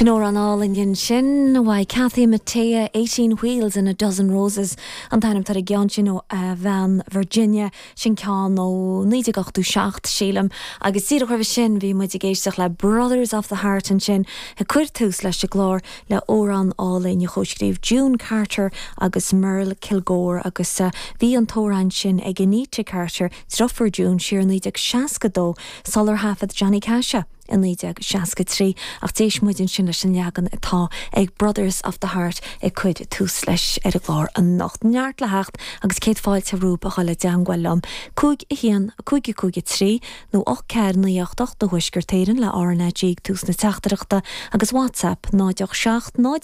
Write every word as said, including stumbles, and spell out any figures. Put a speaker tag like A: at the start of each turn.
A: Sin amhrán álainn sin uaidh Kathy Mattea Eighteen Wheels and a Dozen Roses an t-ainm ar an gceann sin ó a bhean Virginia sin ceann ó naoi déag ochtó seacht sílim agus díreach roimhe sin bhí muid ag éisteacht le Brothers of the Heart ansin ag cur tús leis an gclár le amhrán álainn a chomhscríobh June Carter agus Merle Kilgore agus uh, bhí an t-amhrán sin ag Anita Carter deirfiúr June siar naoi déag seasca dó sular thaifead Johnny Cash é in naoi déag seasca trí ach d'éist muid ansin leis an leagan atá ag Brothers of the Heart ag cur tús leis ar an gclár anocht neart le theacht agus céad fáilte romhaibh a dhul i dteagmháil liom. Cúig a haon cúig cúig trí nó ocht ceathair naoi ocht ocht do Thuaisceart Éireann le RnaG tús na teachtaireachta agus WhatsApp náid seacht náid